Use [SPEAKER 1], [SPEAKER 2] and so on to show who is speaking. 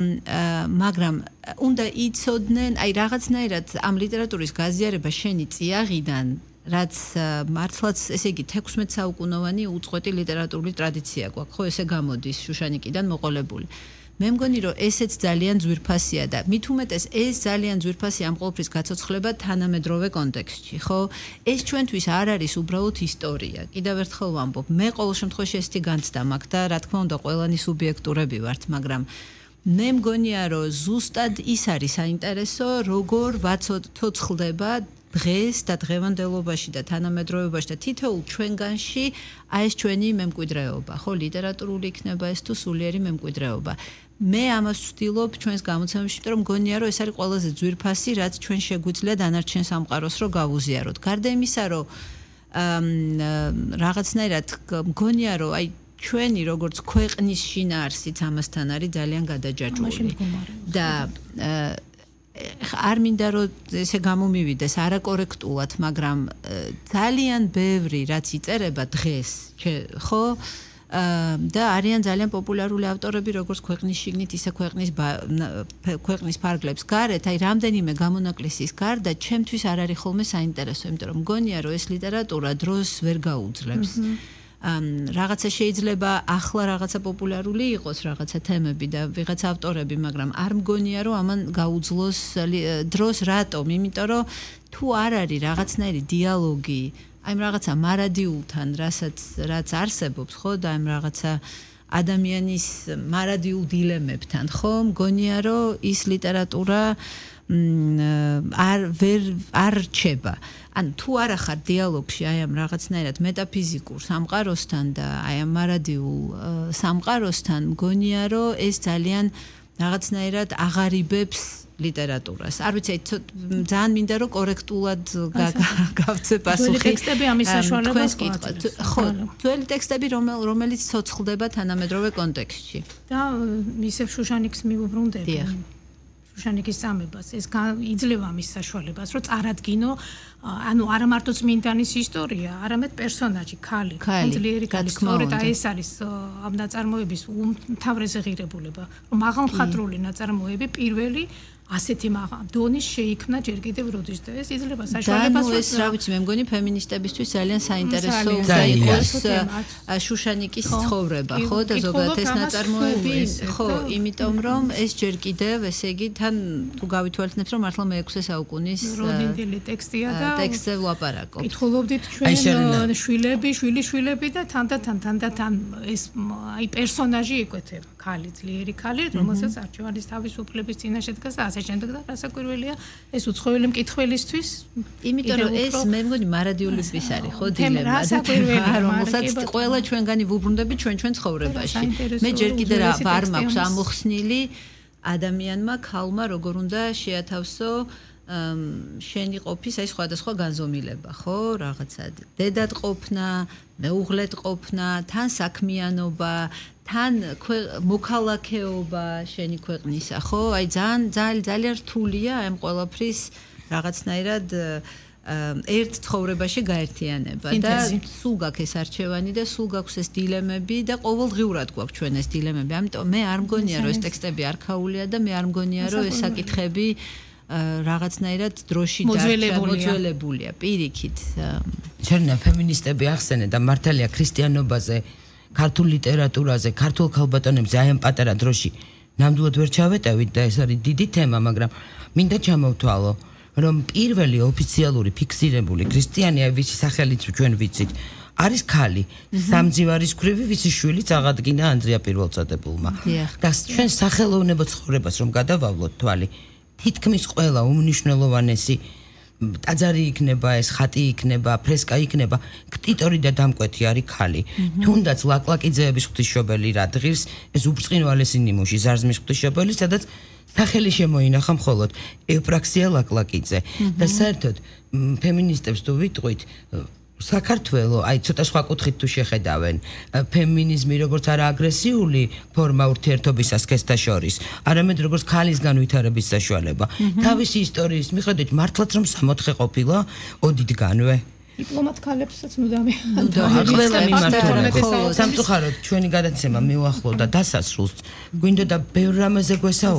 [SPEAKER 1] მაგრამ უნდა იცოდნენ, აი რაღაცნაირად ამ ლიტერატურის გაზიარება შენი წიაღიდან, რაც მართლაც ესე იგი 16 საუკუნოვანი უწყვეტი ლიტერატურული ტრადიცია გვაქვს, ხო ესე გამოდის შუშანიკიდან მოყოლებული. მე მგონი რომ ესეც ძალიან ძვირფასია და მით უმეტეს ეს ძალიან ძვირფასია ამ ყოველფრის გაცოცხლება თანამედროვე კონტექსტში, ხო? ეს ჩვენთვის არ არის უბრალოდ ისტორია. კიდევ ერთხელ ვამბობ, მე ყოველ შემთხვევაში ესეთი განცდა მაქვს და რა თქმა უნდა ყველანი სუბიექტურები ვართ, მაგრამ მე მგონია რომ ზუსტად ის არის საინტერესო, როგორ ვაცოცხლდება დღეს და დღევანდელობაში და თანამედროვეობაში და თითოეულ ჩვენგანში აი ეს ჩვენი მემკვიდრეობა, ხო, ლიტერატურული იქნება ეს თუ სულიერი მემკვიდრეობა. მე ამას ვცდილობ ჩვენს გამოცემებში, იმიტომ რომ მგონია რომ ეს არის ყველაზე ძვირფასი, რაც ჩვენ შეგვიძლია დანარჩენ სამყაროს რო გავუზიაროთ. გარდა იმისა, რომ რაღაცნაირად მგონია რომ აი ჩვენი როგორც ქვეყნის შინაარსიც ამასთან არის ძალიან გადაჯაჭვული და არ მინდა რომ ესე გამომივიდეს არაკორექტულად, მაგრამ ძალიან ბევრი რაც იწერება დღეს, ხო? და არიან ძალიან პოპულარული ავტორები, როგორც ქვეყნის შიგნით, ისე ქვეყნის ფარგლებს გარეთ, აი რამდენიმე გამონაკლისის გარდა, ჩემთვის არ არის ხოლმე საინტერესო, იმიტომ რომ მგონია რომ ეს ლიტერატურა დროს ვერ გაუძლებს. რაღაცა შეიძლება ახლა რაღაცა პოპულარული იყოს რაღაცა თემები და ვიღაცა ავტორები, მაგრამ არ მგონია რომ ამან გაუძლოს დროს რატომ? იმიტომ რომ თუ არ არის რაღაცნაირი დიალოგი აი რაღაცა მარადიულთან, რაც არსებობს, ხო, და აი რაღაცა ადამიანის მარადიულ დილემებთან, ხო, მგონია რომ ის ლიტერატურა არ რჩება. ანუ თუ არ ახარ დიალოგში აი ამ რაღაცნაირად მეტაფიზიკურ სამყაროსთან და აი ამ მარადიულ სამყაროსთან, მგონია რომ ეს ძალიან რაღაცნაირად აღარიბებს ლიტერატურას. არ ვიცი, ძალიან მინდა რომ კორექტულად გავცე პასუხი.
[SPEAKER 2] ძველი ტექსტები ამის საშუალებას გვაძლევს.
[SPEAKER 1] ხო, ძველი ტექსტები, რომელიც ცოცხლდება თანამედროვე კონტექსტში.
[SPEAKER 2] და ისევ შუშანიკს მიუბრუნდები. შუშანიკის წამებას ეს იძლევა მის საშუალებას, რომ წარადგინო, ანუ არა მარტო წმინდანის ისტორია, არამედ პერსონაჟი, ქალი, ძლიერი ქალი. სწორედ ეს არის ამ ნაწარმოების უმთავრესი ღირებულება, რომ მაღალმხატვრული ნაწარმოები პირველი ასეთი დონის შეიქმნა ჯერ კიდევ როდის და ეს იძლევა საშუალებას.
[SPEAKER 1] ეს რა ვიცი, მე მგონი ფემინისტებისთვის ძალიან საინტერესო უნდა იყოს შუშანიკის ცხოვრება, ხო, და ზოგადად ეს ნაწარმოები, ხო, იმიტომ რომ ეს ჯერ კიდევ, ესე იგი, თან თუ გავითვალისწინებთ, რომ მართლა მე-6 საუკუნის
[SPEAKER 2] როდინდელი ტექსტია და
[SPEAKER 1] ტექსტზე ვლაპარაკობ.
[SPEAKER 2] კითხულობდით ჩვენ შვილები და თან ეს აი პერსონაჟი იკვეთება, ქალი, ძლიერი ქალი, რომელსაც არჩევანის თავისუფლების წინაშე დგას და ასე შემდეგ და რასაკვირველია ეს უცხოელი მკითხველისთვის,
[SPEAKER 1] იმიტომ რომ ეს მე მგონი მარადიულების არის, ხო, დილემა, რომელსაც ყველა ჩვენგანი ვუბრუნდებით ჩვენ ცხოვრებაში. მე ჯერ კიდე არ მაქვს ამოხსნილი ადამიანმა, ქალმა როგორ უნდა შეათავსო შენი ყოფის აი სხვადასხვა განზომილება, ხო, რაღაცა დედად ყოფნა, მეუღლედ ყოფნა, თან საქმიანობა, თან მოქალაქეობა შენი ქვეყნისა, ხო? აი ძალიან რთულია ამ ყველაფრის რაღაცნაირად ერთ ცხოვრებაში გაერთიანება და სულ გაქვს ეს არჩევანი და სულ გაქვს ეს დილემები და ყოველდღიურად გვაქვს ჩვენ ეს დილემები. ამიტომ მე არ მგონია რომ ეს ტექსტები არქაულია და მე არ მგონია რომ ეს საკითხები რაღაცნაირად დროში მოძველებულია პირიქით.
[SPEAKER 3] ჩვენნა ფემინისტები ახსენე და მართალია ქრისტიანობაზე, ქართულ ლიტერატურაზე, ქართულ ქალბატონებზე აი ამ პატარა დროში ნამდვილად ვერ ჩავეტევით და ეს არის დიდი თემა, მაგრამ მინდა ჩამოვთვალო, რომ პირველი ოფიციალური ფიქსირებული ქრისტიანი, აი ვიცი სახელიც ჩვენ ვიცით, არის ქალი, სამძივარის ქვრივი, ვიცი შვილი წაღადგინა ანდრია პირველწოდებულმა. და ჩვენ სახელოვნებო ცხოვრებას რომ გადავავლოთ თვალი, თითქმის ყველა უმნიშვნელოვანესი ტაძარი იქნება, ეს ხატი იქნება, ფრესკა იქნება, ქტიტორი და დამკვეთი არის ქალი. თუნდაც ლაკლაკიძეების ღვთისმშობელი რა დღის, ეს უბრწყინვალესი ნიმუში ზარზმის ღვთისმშობელი, სადაც სახელი შემოინახა მხოლოდ ევპრაქსია ლაკლაკიძე. და საერთოდ ფემინისტებს თუ ვიტყვით, საქართველოს აი ცოტა სხვა კუთხით თუ შეხედავენ ფემინიზმი როგორც არა აგრესიული ფორმა ურთიერთობისა სქესთა შორის, არამედ როგორც ქალის განვითარების საშუალება. თავისი ისტორიის მიხედვით მართლაც რომ 64 ყოფილა ოდითგანვე.
[SPEAKER 2] დიპლომატ ქალებსაც მუდამი
[SPEAKER 3] ყველა მიმართულებით სამწუხაროდ ჩვენი გადაცემა მიუახლოვდა დასასრულს გვინდოდა ბევრ რამაზე